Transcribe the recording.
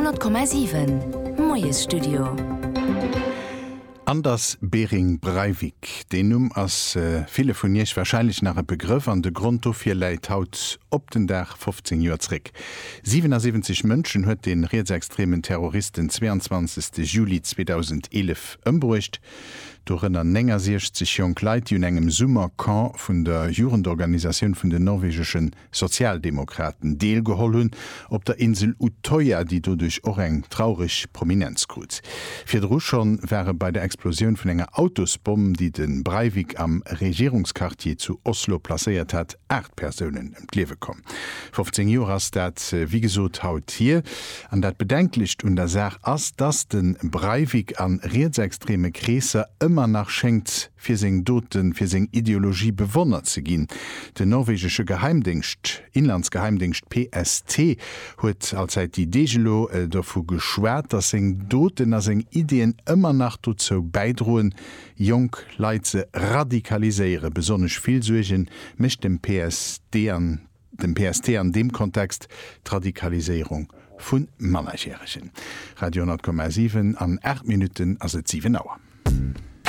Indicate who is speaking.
Speaker 1: 100,7 Moiesstudio.
Speaker 2: Anders Behring Breivik, deen Numm ass ville vun Iech warscheinlech nach e Begrëff an de Grond dofir läit haut op den Dag 15 Joer zréck. 77 Mënschen huet de rietsextremen Terrorist den 22 Juli 2011 ëmbruecht, dorënner 69 jonk Leit, déi un engem Summercamp vun der Jugendorganisatioun vun den norwegesche Sozialdemokraten deelgeholl hunn op der Insel Utøya, déi doduerch och eng traureg Prominenz krut. Virdru schonn ware bei der Explosioun vun enger Autosbomm, déi de Breivik am Regierungsquartier zu Oslo placéiert hat, 8 Persounen ëm d'Liewe komm. 15 Joer ass dat wéi gesot haut hier. An dat Bedenklecht un der Saach ass, dass de Breivik a rietsextreme Kreesser ëmmer nach schéngt fir seng Doten, fir seng Ideologie bewonnert ze ginn. Den norwegesche Geheimdéngscht, Inlandsgeheimdéngscht PST, huet allzäit déi Deeg elo dovu geschwat, datt seng Doten a seng Ideeën ëmmer nach dozou bäidroen, jonk Leit ze radikaliséieren. Besonnesch vill Suerge mécht dem PSD an dem PST an deem Kontext d'Radikaliséierung vu Mannerjäregen. Radio 10,7, An 8 Minutten ass et 7 Auer.